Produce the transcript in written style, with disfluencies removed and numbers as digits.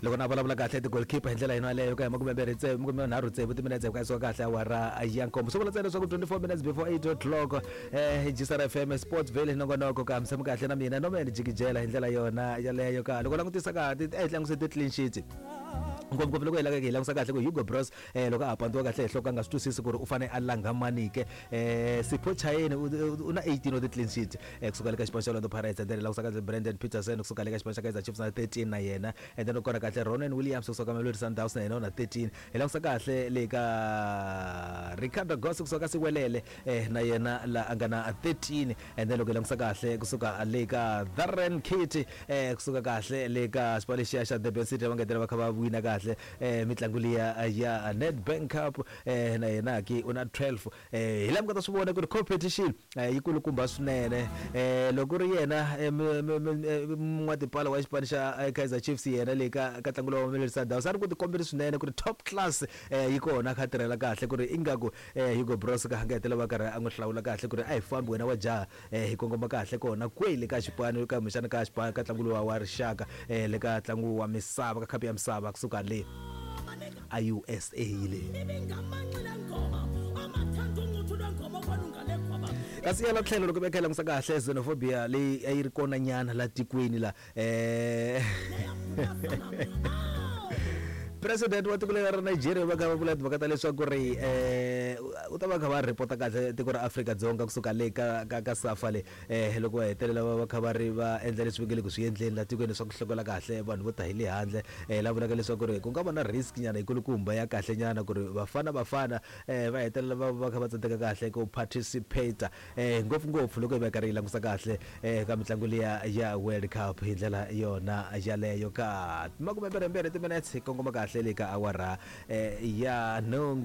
Loko na vulavula kahle ti-goalkeeper hi ndlela yona yaleyo ka hi makumembirhi tsevu makume nharhu tsevu timinetse ku yisiwa kahle awara ya nkombo, swi vula ntsena leswaku 24 minutes before 8 o'clock GCR FM Sportsville nongonoko ka msamo kahle na mina Norman Jikijela hi ndlela yona yaleyo ka loko langutisa ka ti eh langutisa ti-clean sheets ngopfungopfu loko hi lava hi langusa kahle ku Hugo Broos loko a ha pandziwa kahle hi nhloko a nga swi twisisi ku ri u fane a langha mani ke. Sipho Chaine u na 18 wa ti-clean sheet kusuka le ka xipano xa Orlando Pirates, and then hi langusa kahle Brandon Petersen kusuka le ka xipano xa Kaizer Chiefs na 13 na yena, and then u kona kahle Ronan Williams kusuka ka Mamelodi Sundowns na yena u na 13. Hi langusa kahle le ka Ricardo Goss kusuka ka Siwelele na yena la a nga na 13, and then loko hi langusa kahle kusuka le ka Darren Kitty kusuka kahle le ka xipano lexiya xa Durban City va ngetela va kha va wina kahle mitlangu liya ya Nedbank Cup na yena ki u na 12. Hi laha mi nga ta swi vona ku ri competition yi kulukumba swinene. Loko ku ri yena n'watipala wa xipano xa Kaizer Chiefs yena le ka ka ntlangu lowu wa Mamelodi Sundowns a ri ku tikombeni swinene ku ri top class yi kona a kha a tirhela kahle ku ri ingaku Hugo Broos ka nga hetelela va karhi a n'wi hlawula kahle ku ri a hi fambi wena wa jaha hi kongoma kahle kona kwele ka xipano kumbexana ka xipano ka ntlangu lowa wa rixaka le ka ntlangu wa misava ka khapu ya misava kusuka le a USA le. Kasi yala tlhelo loko va kha langusa kahle xenophobia leyi a yi ri kona nyana la tikweni la president wa tiko leri ra Nigeria va kha va vula timhaka ta leswaku ri u ta va kha va report kahle tiko ra Afrika-Dzonga kusuka le ka ka ka SAFA le loko va hetelela va va kha va ri va endla leswi va nge le ku swi endleni la tikweni swa ku hlongola kahle vanhu vo ta hi le handle. La vulaka leswaku ri ku nga va na risk nyana yikulukumba ya kahle nyana ku ri Bafana Bafana va hetelela va va kha va tsandzeka kahle ku participate ngopfungopfu loko hi va hi karhi hi langusa kahle ka mitlangu liya ya World Cup hi ndlela yona yaleyo. Ka makumembirhimbirhi timinetse hi kongoma kahle le ka awara ya nhungu.